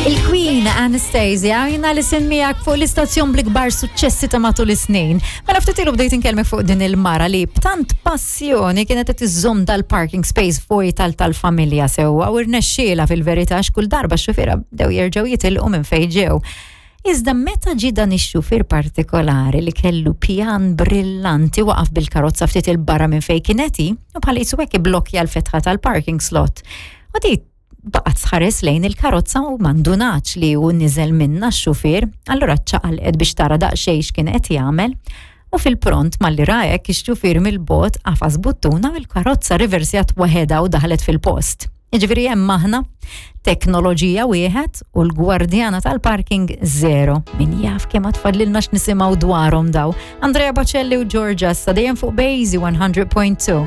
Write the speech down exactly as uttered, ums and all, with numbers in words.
Il-Queen Anastasia, jiena li miegħek fuq l-istazzjon bl-ikbar suċċessi ta' matul is-snin. Mela ftit ilu bdejt inkellmek fuq din il-mara li b'tant passjoni kienet qed iżżomm dal-parking space fuq tal tal-familja sewwa u rnexxiela fil-verità x'kull darba x-xufiera bdew jerġgħu jitilqu minn fejn ġew. Iżda meta ġie dan ix-xufier partikolari li kellu pjan brillanti, waqaf bil-karozza ftit il-barra minn fejn kienet hi u bħal qisu hekk iblokkja l-fetħa tal-parking slot. U di baqgħet tħares lejn il-karozza u m'indunax li hu niżel minna x-xufier, allura ċaqalqet biex tara daqsxejn x'kien qed jagħmel. U fil-pront malli ra hekk ix-xufier mill-bogħod għafas buttuna u l-karozza riversjat waħedha u daħlet fil-post. Jiġifieri hemm aħna, teknoloġija wieħed u l-gwardjana tal-parking zero. Min jaf kemm tfadlilna x'nisimgħu dwarhom daw. Andrea Bocelli u Georgia sa dejjem fuq Basie one hundred point two.